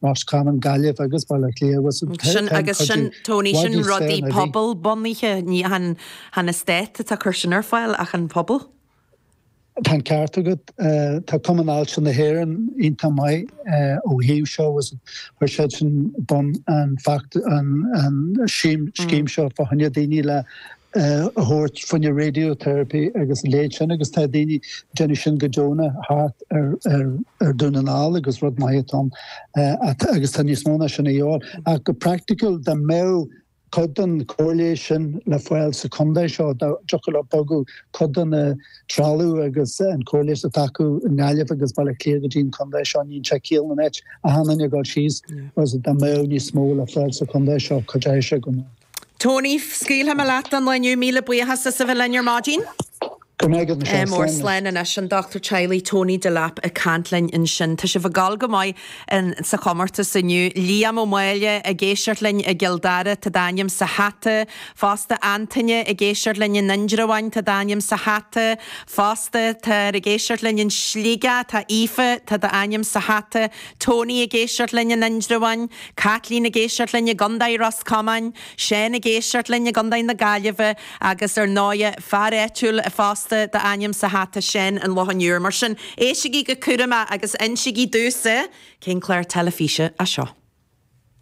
Ros Comáin, Gaillimh agus Baile Átha Cliath agus Sin agus sin Tony, sin rudaí pobal bunaithe, ní chan an stát atá ag cur sin ar fáil ach an pobal. Tá an ceart agat. Tá Cumann Ailse na hÉireann iontach maith ó thaobh seo agus chuir siad sin bun an an scéim seo fá choinne daoine le a thabhairt fá choinne radiotherapy agus a leithéid sin agus tá daoine ag déanamh sin go deonach thart ar Dhún na nGall agus rud maith atá ann agus tá níos mó ná sin a dhíobháil. Ach go praiticiúil dá mbeadh cuid den chóir leighis sin le fáil sa chontae seo, dá dtiocfadh leo bogadh cuid den trealamh agus an chóir leighis atá acu i nGaillimh agus Baile Átha Cliath go dtí an contae seo, níl sé ciall an áit achan duine ag dul síos agus dá mbeadh níos mó le fáil sa chontae seo, cuideoidh sé go mór. Tony, scaoilfidh mé leat don lá inniu. Míle buíochas as a bheith linn ar maidin. Go raibh maith agat, Michelle. Mór slán anois. An Dochtúir Teaghlaigh Tony Delap ag caint linn ansin. Tá sibh ag gabháil go maith sa chomórtas inniu. Liam Ó Máille ag éisteacht linn i gCill Dara, tá d'ainm sa hata. Fosta Antaine ag éisteacht linn in Indreabhán, tá d'ainm sa hata. Fosta tá ag éisteacht linn in Sligeach, tá Aoife, tá d'ainm sa hata. Tony ag éisteacht linn in Indreabhán. Caitlín ag éisteacht linn i gContae Ros Comáin, Seán ag éisteacht linn i gContae na Gaillimhe agus ar ndóighe fear áitiúil fosta d'ainm sa hata Seán an Locháin Úir. Mar sin, éistigí go cúramach agus insígí domhsa cén clár teilifíse é seo.